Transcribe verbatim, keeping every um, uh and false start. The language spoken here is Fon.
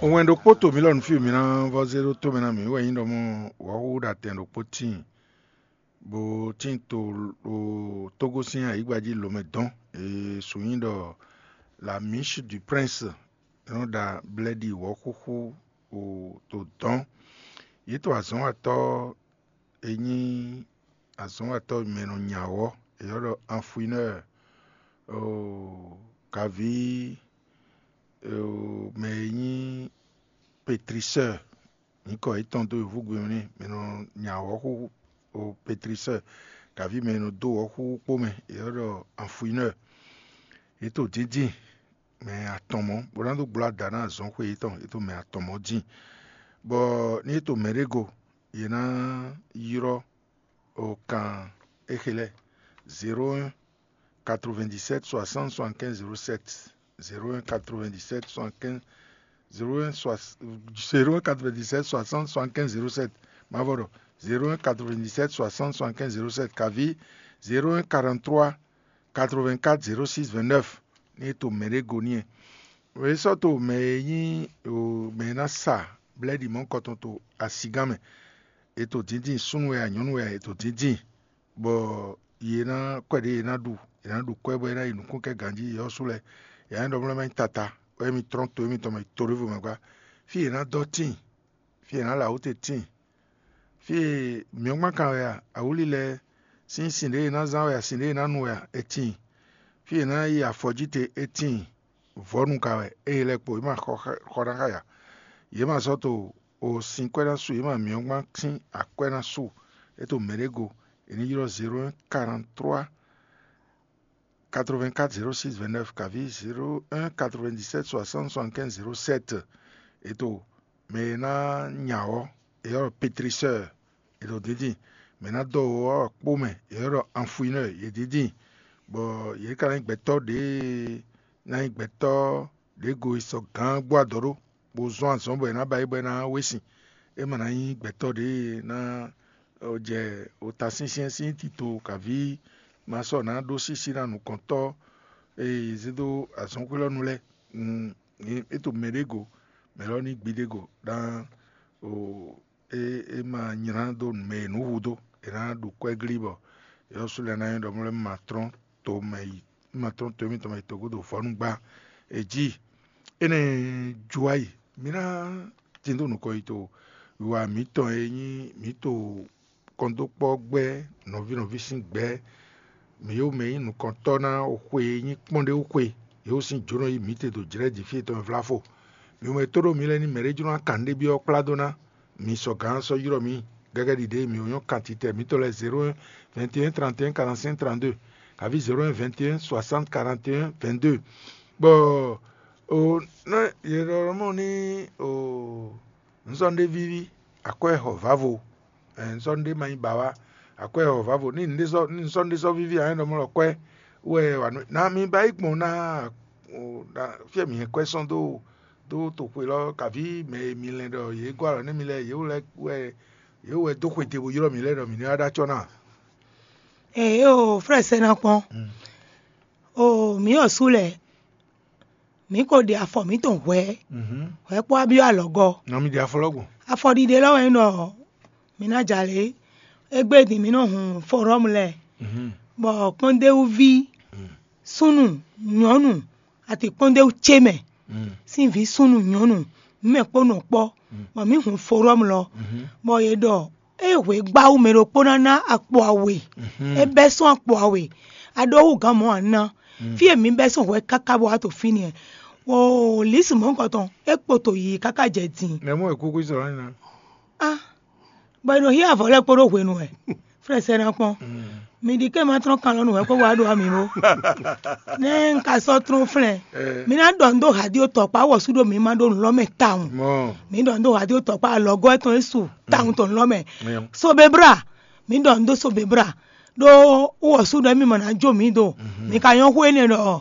Wɛn ɖokpó to mǐ lɔ nǔ fí mi ná vɔ́ zé ɖó tó mɛ ná mǐ wɛ nyí ɖɔ mɔ wɔ̌xúxú ɖo atɛn ɖokpó tíin, bó tíin to ɖo Tógó sín ayǐgba jí lǒmɛ dɔn. È su nyí ɖɔ La Miche du Prince, è nɔ ɖa blɛ́ɖi wɔ̌xúxú ɖo to dɔn. Yě to azɔ̌watɔ́ e nyí azɔ̌watɔ́ mɛ e nɔ nya wɔ̌, è ylɔ́ ɖɔ Anfuinɔ́ɔ, kaví mɛ e nyí Petrisɔ́ɔ, nyǐkɔ yětɔn dó yǒhúgbe ɔ́ n'i, mɛ e nɔ nya wɔ̌xúxú, Petrisɔ́ɔ, kaví mɛ e nɔ dó wɔ̌xúxú kpó mɛ, è ylɔ́ ɖɔ Anfuinɔ́ɔ. Yě to dǐndín mɛ atɔn mɔ̌, bó ná dó gbló ada ná azɔ̌xwé yětɔn, yě to mɛ atɔn mɔ̌ dín. Bɔ ní yě to mɛ ɖé go, yě ná ylɔ́ kan éxe lɛ́ɛ: zéro un quatre-vingt-dix-sept soixante soixante-quinze zéro sept, zéro un quatre-vingt-dix-sept soixante-quinze zéro un quatre-vingt-dix-sept soixante soixante-quinze zéro sept. Mavɔ ɖɔ zéro un quatre-vingt-dix-sept soixante soixante-quinze zéro sept, kaví zéro un quarante-trois quatre-vingt-quatre zéro six vingt-neuf. Ní è to mɛ ɖé go n'i. È sɔ́ to mɛ e nyí mɛ e ná sa blɛ́ɖi mɔ̌hunkɔtɔn to asigán mɛ. È to dǐndín, súnnu wɛ a, nyɔ̌nu wɛ a, è to dǐndín, bɔ yě ná kwɛ ɖě yě ná ɖu, yě ná ɖu kwɛ́ bɔ é ná yi nǔkún kɛ ganjí. Yɔ́sú lɛ́ɛ, yě ná ɖɔ mlɔ́ má nyí tata, bɔ émi trɔ́n to émitɔn mɛ yi to ɖěvo mɛ gbá. Fí yě ná dɔ́ tíin, fí yě ná lɛ awǔ te tíin. Fí e mǐ ɔ́ gbán kan wɛ a, awǔli lɛ́ɛ sín sin ɖě e è nǎ zán wɛ a, sin ɖě e è nǎ nu wɛ a, è tíin. Fí e è nǎ yi afɔ jí te, è tíin. Vɔ̌nu ka wɛ, ée lɛ́ɛ kpo, yě ma xɔ xɔ ná xá ya. Yě ma sɔ́ to o sin kwɛ́ ná su, yě ma mǐ ɔ́ gbán sín akwɛ́ ná su. É to mɛ ɖé go, è ní ylɔ́ zéro un quarante-trois quatre-vingt-quatre zéro six vingt-neuf, kaví zéro un quatre-vingt-dix-sept soixante soixante-quinze zéro sept. È to mɛ e ná nya ɔ́, è ylɔ́ ɖɔ Petrisɔ́ɔ, è ɖo díndín. Mɛ e ná dɔ́ ɔ́ kpó mɛ, è ylɔ́ ɖɔ Anfuinɔ́ɔ, yě díndín. Bɔ yě ka ná nyí gbɛtɔ́ ɖě ná nyí gbɛtɔ́ ɖě go e sɔ gǎn gbó adɔ ɖó, bó zɔ́n azɔ̌ bɔ è nǎ ba yě bɔ é ná wé sin. É ma ná nyí gbɛtɔ́ ɖě e ná jɛ ota syɛ́nsyɛ́n sín tito, kaví ma sɔ́ ná ɖó sísí ná nukɔntɔ́ e zé dó azɔ̌xwé lɔ nu lɛ́ɛ. É to mɛ ɖé go, mɛ lɔ ní gbiɖe go ɖán o. É é ma nylá dó mɛ e nǔ hu dó, è nǎ ɖu kwɛ́ glí bɔ yɔ́sú lɛ́ɛ ná nyí ɖɔ mlɔ́ ma trɔ́n to mɛ yi, ma trɔ́n to émítɔn mɛ yi tɔgúdo vɔ̌nu gbá. È jí énɛ́ ju wá yi. Mǐ ná tín dó nukɔn yi to wiwa mǐtɔn e nyí mǐ to kɔndókpɔ́ gbɛ́ nɔví nɔví sín gbɛ́. Mǐ yǒ mɛ nyí nukɔntɔ́ ná xwe e nyí kpɔ́n ɖé wú xwe, yě wú sín jǒnɔ yí mǐ te ɖo jlɛ̌ jǐ fí e tɔn e vlá fo. Mi mɛ tó ɖó mi lɛ́ɛ ní mɛ̌ ɖé jló ná kan nǔɖé byɔ́ kplá dó ná mi sɔ gǎn sɔ́ ylɔ́ mi gɛgɛ́ ɖiɖe e mi wǒ nyɔ́ kan titɛ mǐtɔn lɛ́ɛ zéro un vingt et un trente et un quarante-cinq trente-deux, kaví zéro un vingt et un soixante quarante et un vingt-deux. Bɔ o nɔ yě ɖɔ mɔ ní o nǔzɔ́ ɖé víví, akwɛ́ xɔ vǎvo, nǔzɔ́ ɖé ma nyí ba wá, akwɛ́ xɔ vǎvo ní nǔzɔ́ ɖé sɔ́ víví ǎ é nɔ mɔ lɔ kwɛ́ wɛ wà nú ná mi ba yí gbɔn ná. Fí e mǐ hɛn kwɛ́ sɔ́n dó dó toxwe lɔ, kaví mɛ e mi lɛn ɖɔ yě gɔ́ alɔ nú mi lɛ́ɛ, yě wɛ yě wɛ dó xwe te bó ylɔ́ mǐ lɛ́ɛ ɖɔ mǐ ní wá ɖó acɔ́ ná. Ee o, frɛ sɛ́ ná kpɔ́n. O mǐ ɔ́ sú lɛ́ɛ, mǐ ko ɖe afɔ mǐtɔn hwɛ̌, hwɛ̌ kpó abyɔ́ alɔgɔ́. Nɔ mi ɖe afɔ lɔ gbɔn. Afɔɖiɖe lɔ wɛ nyí ɖɔ mǐ ná jalě. Égbé din mǐ nɔ hun forɔ́mu lɛ́ɛ, bɔ kpɔ́ndéwúví súnnu nyɔ̌nu atikpɔ́ndéwú ce mɛ sín vǐ súnnu nyɔ̌nu, mǐ mɛ kpó nɔ kpɔ́, bɔ mǐ hun forɔ́mu lɔ, bɔ yě ɖɔ é hwe gbáwú mɛ ɖokpó ná ná akpo awe, é bɛ́ sɔ́n akpo awe, a ɖó hú gǎn mɔ̌ a ná. Fí e mǐ bɛ́ sɔ́n hwɛ káká bɔ wá to fínɛ́, o lǐsi mɔ̌hunkɔtɔn é kpo to yiyi káká jɛ din. Mɛ mɔ è kúkú sɔ̀rọ̀ ní ná. Ah, bɔ è nɔ hí avɔ lɛ́ɛ kpódó hwenu wɛ. Frɛ sɛ́ ná kpɔ́n. Mi ɖi ké ma trɔ́n kan lɔ nú hwɛ kpó wá ɖo ami bó. Nɛ́ un ka sɔ́ trɔ́n flɛ́n. Mi ná ɖɔ nǔ dó hadi tɔkpá wɔ̌sú ɖo mi ma ɖó nǔ lɔ mɛ tawun. Mi ɖɔ nǔ dó hadi tɔkpá alɔgɔ́ tɔn Yesu tawun tɔn nǔ lɔ mɛ. Sobebra, mi ɖɔ nǔ dó sobebra. Ɖó wɔ̌sú ɖɔ mi ma ná jó mi do. Mi ka nyɔ́ xó énɛ́ ɖɔ